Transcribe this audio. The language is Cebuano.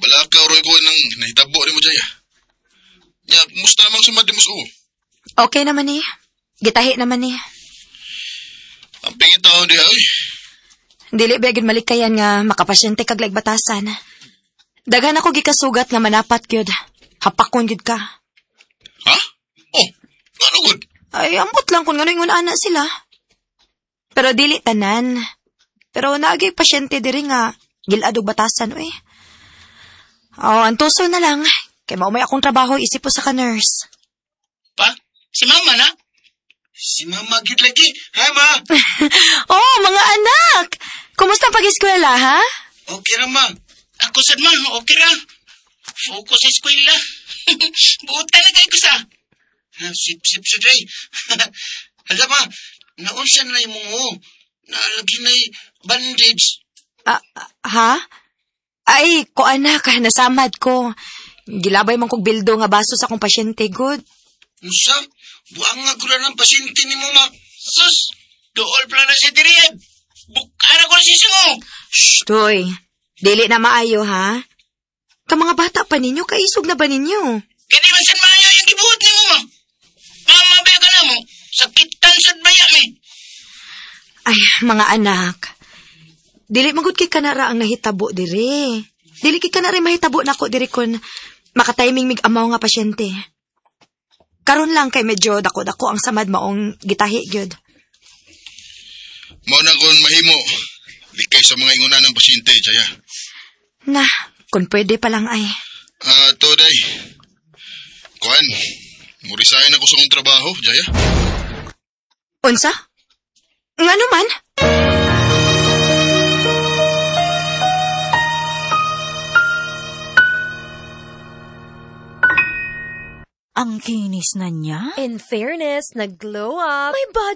Balakaw ro ko nang nahitabo nimo, Jaya. Nya, kumusta namang sumad mo sa? Okay naman ni. Gitahi naman ni. Ang pingit taon diha, oy. Dili ba gyud malikayan nga makapasyente kag laig batasan. Daghan ako gikasugat nga manapat gyud. Hapakon gyud ka. Ha? Oh, ngano gud? Ay, ambot lang kung ngano ingon ana sila. Pero dili tanan. Pero naagay pasyente diri nga gilad og batasan oy. Oh, antuso na lang. Kay maumay akong trabaho isip po sa ka nurse. Pa, si mama na? Si mama gid lagi. Hi, ma. Oh, mga anak! Kumusta ang pag-eskwela, ha? Okay ra, ma. Ako sad ma, okay ra. Focus sa eskwela. Buot talaga ko sa. Sip sip sa day. Hala ma, naunsa na imong o. Nalagi na bandage. Ah, ha? Ay, ko anak, nasamad ko. Gilabay man kog bildo nga baso sa akong pasyente, good. Unsa? Buang nga gula ng pasyente ni mo, ma. Sus, dool pala na si Dirian. Bukara ko na si Singo. Shh, toy. Dili na maayo, ha? Ka mga bata pa ninyo, kaisog na ba ninyo? Kaya man sad maayo yung gibuhat ni mo, ma. Mama, ba ka na mo? Sakitan sad baya mi. Ay, mga anak. Dili magud kay kanara ang nahitabo dire. Dili kay kanara mahitabo nako diri kun makatiming mig amaw nga pasyente. Karon lang kay medyo dako-dako ang samad maong gitahi gyud. Mao na kon mahimo. Likay sa mga ingunan ng pasyente, Jaya. Na, kung pwede pa lang ay. Ah, to day. Kuan, mo-resign ako sa akong trabaho, Jaya. Unsa? Ngano man? Ang kinis na niya. In fairness, nag-glow up. May